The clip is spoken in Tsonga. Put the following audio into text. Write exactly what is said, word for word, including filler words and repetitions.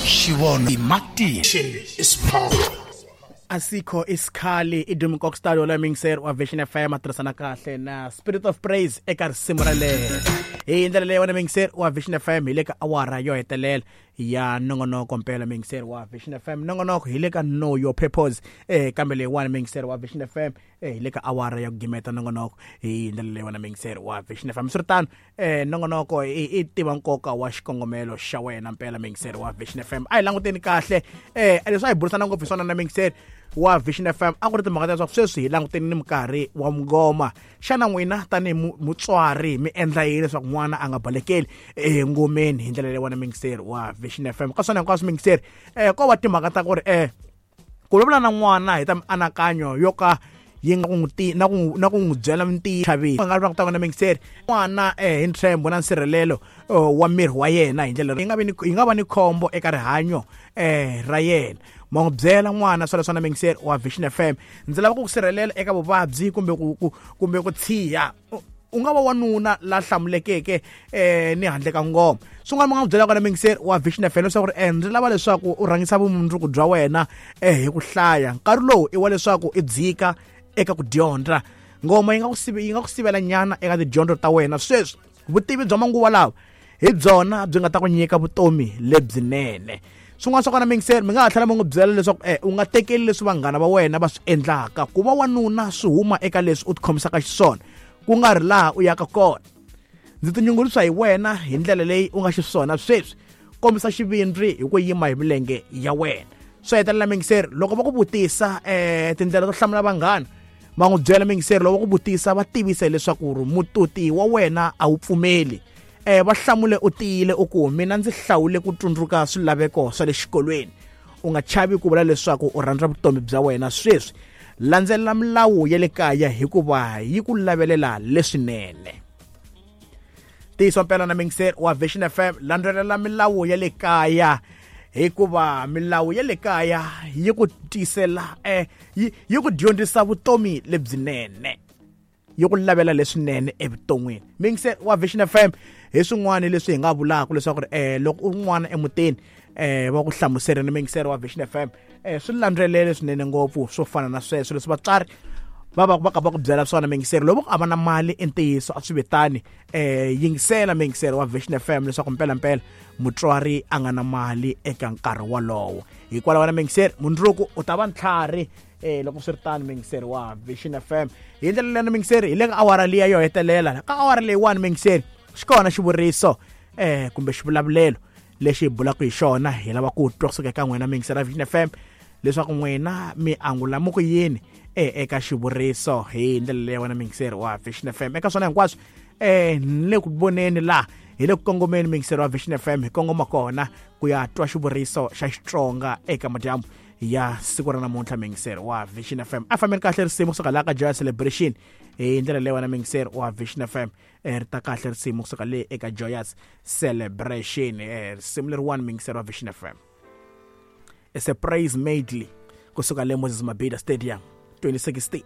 Xivono Martin is power. Asikho isikhali i Dumi Kokstad wala mixer wa Vision F M a tirhisana kahle na Spirit of Praise eka risimu ra lero. Hi ndlela leyi wena mixer wa Vision F M hi le ka awara yo hetelela ya nongonoko mpela mixer wa Vision F M. Nongonoko hi le ka Know Your Purpose eh kambe leyiwani mixer wa Vision F M eh hi le ka awara ya ku gimeta nongonoko hi ndlela leyi wena mixer wa Vision F M. Swiritano eh nongonoko i tiva nkoka wa xikongomelo xa wena mpela mixer wa Vision F M. A hi languteni kahle eh leswi a hi burisana ngopfu hi swona na mixer wa Vision F M a ku ri timhaka ta leswaku sweswi hi languteni ni minkarhi wa mungoma. Xana n'wina tanihi mutswari mi endla yini leswaku n'wana a nga balekeli engomeni hi ndlela leyi wena mixer wa Vision F M? Ka swona hinkwaswo mixer eh ko va timhaka ta ku ri eh ku vulavula na n'wana hi ta mianakanyo yo ka yi nga ku n'wi na ku na ku n'wi byela mintiyiso chavile nga va ku ta na mixer n'wana eh hi ntshembo na nsirhelelo wa miri wa yena hi ndlela yi nga vi ni yi nga va ni khombo eka rihanyo eh ra yena. Ma n'wi byela n'wana swale swa na mixer wa Vision F M, ndzi lava ku ku sirhelela eka vuvabyi kumbe ku kumbe ku tshiya. U nga va wanuna la hlamulekeke eh ni handle ka ngoma. Swin'wana mi nga n'wi byela kona mixer wa Vision F M leswaku ri ndzi lava leswaku u rhangisa vumundzuku bya wena eh hi ku hlaya. Nkarhi lowu i wa leswaku i dzika eka ku dyondza. Ngoma yi nga ku yi nga ku sivela nyana eka tidyondzo ta wena. Sweswi vutivi bya manguva lawa hi byona byi nga ta ku nyika vutomi lebyinene. Swin'wana swa kona mixer mi nga ha tlhela mi n'wi byela leswaku eh u nga tekeli leswi vanghana va wena va swi endlaka. Ku va wanuna swi huma eka leswi u tikhomisaka xiswona, ku nga ri laha u yaka kona. Ndzi tinyungubyisa hi wena hi ndlela leyi u nga xiswona sweswi. Kombisa xivindzi hi ku yima hi milenge ya wena. Swi hetelela mixer loko va ku vutisa eh tindlela to hlamula vanghana, va n'wi byela mixer loko va ku vutisa va tivise leswaku mututi wa wena a wu pfumeli. Eh va hlamule u tiyile u ku mina ndzi hlawule ku tsundzuka swilaveko swa le xikolweni. U nga chavi ku vula leswaku u rhandza vutomi bya wena sweswi. Landzelela milawu ya le kaya hikuva yi ku lavelela leswinene. Tiyiso mpela na mixer wa Vision F M, landzelela milawu ya le kaya hikuva milawu ya le kaya yi ku tisela eh yi, yi ku dyondzisa vutomi lebyinene, yi ku lavela leswinene evuton'wini. Mixer wa Vision F M hi swin'wana leswi hi nga vulaka leswaku eh loko u n'wana emutini eh va ku hlamusela ni mixer wa Vision F M eh swi landzelele swinene ngopfu swo fana na sweswo leswi vatswari va va va ka va ku byela swona mixer. Loko a va na mali i ntiyiso a swi vitani eh yingisela mixer wa Vision F M leswaku mpela mpela mutswari a nga na mali eka nkarhi wolowo. Hikwalaho na mixer mundzuku u ta va ntlhari eh loko swi ri tano mixer wa Vision F M. Hi ndlela leyi mixer hi le ka awara liya yo hetelela. Ka awara leyiwani mixer xi kona xivuriso eh kumbe xivulavulelo lexi hi bulaka hi xona. Hi lava ku twa kusuka eka n'wina mixer wa Vision F M leswaku n'wina mi angula mu ku yini eh eka xivuriso hi ndlela leyi wena mixer wa Vision F M. Eka swona hinkwaswo eh ni le ku voneni laha hi le ku kongomeni mixer wa Vision F M hi kongoma kona ku ya twa xivuriso xa Xitsonga eka madyambu ya siku ra namuntlha mixer wa Vision F M. A fambeni kahle risimu kusuka laha ka Joy Celebration hi ndlela leyi wena mixer wa Vision F M ri ta kahle risimu kusuka le eka Joyous Celebration. Risimu leriwani mixer wa Vision F M, it's a praise medley kusuka le Moses Mabhida Stadium twenty sixteen.